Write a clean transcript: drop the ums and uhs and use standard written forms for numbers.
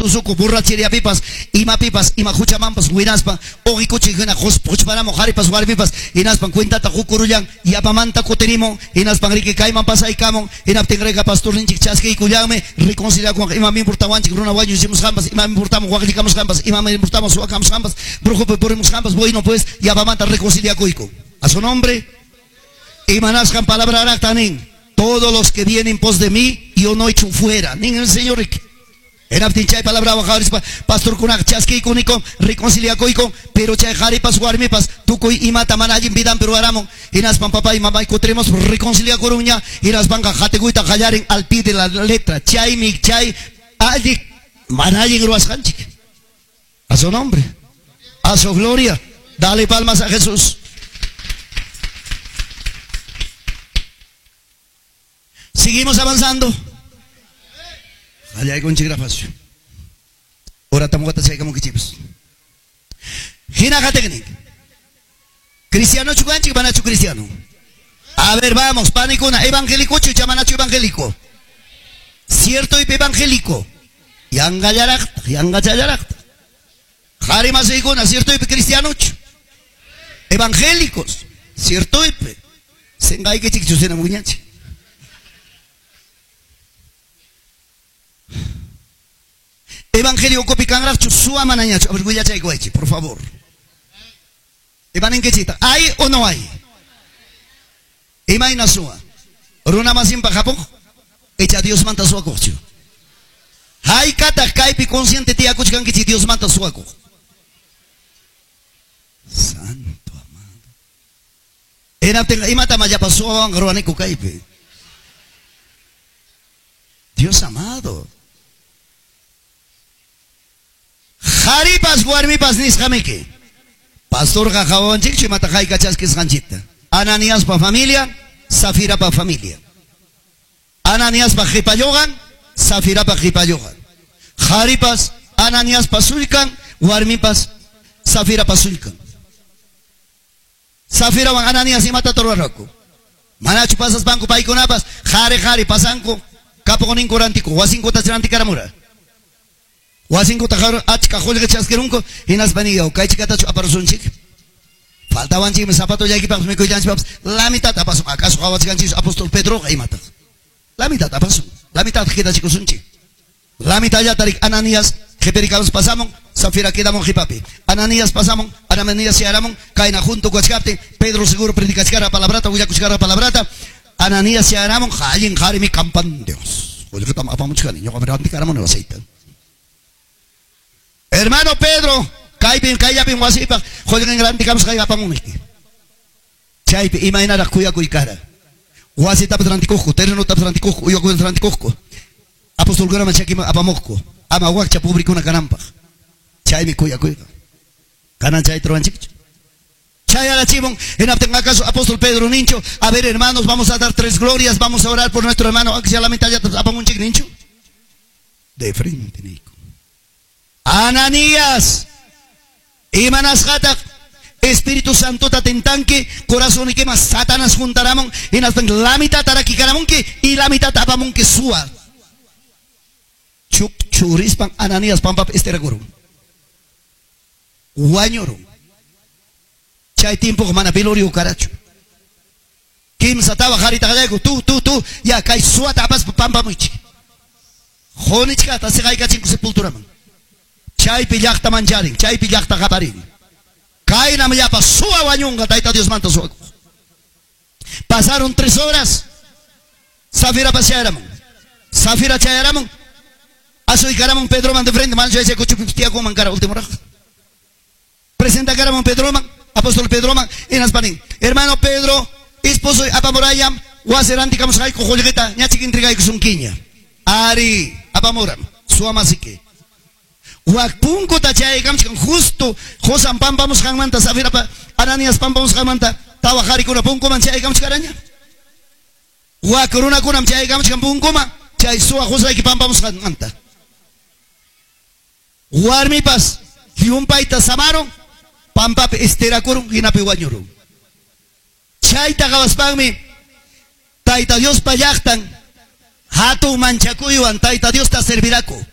tusukuq borracheriapipas, imapipas, ima huchamanpas winaspa, uqikuchi hina quchparamuq qharipas warmipas, hinaspan cuentata qukurullan, yapamanta kutirimun, hinaspan riki kayman pasaykamun, hinaptin rika pastorninchik chaskiykullanmi, reconciliakunqa imam importawanchik runa wañuchimusqanpas, imam importamun waqllikamusqanpas, imam importamun suwakamusqanpas, brujupi purimusqanpas, bueno pues yapamanta reconciliakuyku. A su nombre, imanasqan palabra rakta nin, todos los que vienen pos de mí, yo no echo fuera. Nin el Señor. Hinaptin chay palabra qhawarispa pastorkunaqa chaskiykunikun, reconciliakuyku, pero chay qharipas warmipas tukuy imata mana allin vidanpi ruwaramun, hinaspan papay mamay kutirimos reconciliakurunña, hinaspanqa qatikuyta qallarin al pie de la letra. Chaymi chay alli mana allin ruwasqanchik. A su nombre, a su gloria. Dale palmas a Jesús. Seguimos avanzando. Qallaykunchik rafacio. Ora tamuqata chaykamunkichikpas. Hina qatiqnin. Cristiano chukanchik, manachu cristiano? A ver, vamos, panikuna, evangélico chu, manachu evangélico? Cierto y evangélico. Yangallaraqta, yangachallaraqta. Qhari masiykuna, cierto y cristiano chu. Evangélicos, cierto y Sengaykichik chusina muñanchik. Evangelio kopikanraqchu suwa manañachu. A ver, willachaykuwaychik, por favor. Imaninkichikta, ¿hay o no hay? Imayna suwa. Runa masinpaq hapuq, icha Diosmanta suwakuqchu. Haykataq kaypi consciente tiyakuchkankichik Diosmanta suwakuq. Santo amado. Hinaptinqa imatam allapa suwawanqa ruwaniku kaypi. Dios amado. Qharipas warmipas nisqamiki. Pastorqa qawawanchikchu imata hayka chaskisqanchikta. Ananiaspa familia, Safirapa familia. Ananiaspa qhipalluqan, Safirapa qhipalluqan. Qharipas Ananiaspa sullkan, warmipas Safirapa sullkan. Safirawan Ananias imata ruwarqaku. Manachu pasaspanku paykunapas qhari qhari pasanku kapuqninku rantiku, wasinkuta rantikaramura. Wasinkuta achka qullqi chaskirunku, hinaspa niyaw kaychikatachu aparusunchik. Faltawanchikmi zapatollaykipaqpas mikullanchikpapas, la mitad apasun. Acaso qhawachkanchik apóstol Pedroqa imataq. La mitad apasun, la mitad qidachikusunchik. La mitad llatarik Ananías qhipirikamus pasamun, Safira quedamun qipapi. Ananías pasamun, Ananías chayaramun, kayna junto kachkaptin, Pedro seguro predicachkara palabrata, willakuchkara palabrata. Ananías chayaramun, allin qharimi kampan Dios. Qullqitam apamuchkani, ñuqami rantikaramun aceite. Hermano Pedro, kaypin kayllapin wasipaq qullqin rantikamusqay apamunki. Chaypi imaynaraq kuyakuy kara. Wasitapas rantikuqku, terrenotapas rantikuqku, uywakunata rantikuqku. Apostolkunaman chakiman apamuqku. Ama wakcha pobrikuna kananpaq. Chaymi kuyakuyqa. Kanan chayta ruwanchikchu. Chayarachimun, hinaptin acaso apóstol Pedro nincho, a ver hermanos, vamos a dar tres glorias, vamos a orar por nuestro hermano, aunque sea la mitad ya apamunchik nincho. De frente, Nico. Ananías, imanasqataq Espíritu Santo tatentanki, corazón y quema Satanás juntaramon, hinaspan la mitad tarakikaramunki y la mitad apamunki suwa. Chuk churispan Ananías pampap esterakuru. Wañurun. Chay tiempo mana velorio karachu. Kimsa tawa harita qallayku, tu, ya kay suwata apaspa pampamuichik. Qunichkata siqaykachinku sepulturaman. Chaypi llaqta mancharin, chaypi llaqta qaparin. Kaynam llapa suwa wañunqa, Tayta Diosmanta suwakuq. Pasaron 3 horas. Safira chayaramun. Safira chayaramun. Asuykaramun Pedroman de frente, mancha ese kuchupi tiyakuman kara último raq. Presenta karamun Pedroman, apóstol Pedroman, hinaspanin. Hermano Pedro, esposo apamurayam, wasi rantikamusqayku qullqita, ñachik entregaykusunkiña. Ari, apamuram, suwamasiki. Wak punkuta chayaykamchkan justo Josan pampamusqanmanta, Safirapa Ananías pampamusqanmanta, tawa qharikuna punkuman chayaykamchkaraña. Wak runakunam chayaykamchkan punkuman, chay suwa qusayki pampamusqanmanta. Warmipas llumpayta samaron, pampapi esterakurun, hinapi wañurun. Chayta qhawaspanmi Tayta Diospa llaqtan hatun manchakuywan Tayta Diosta serviraku.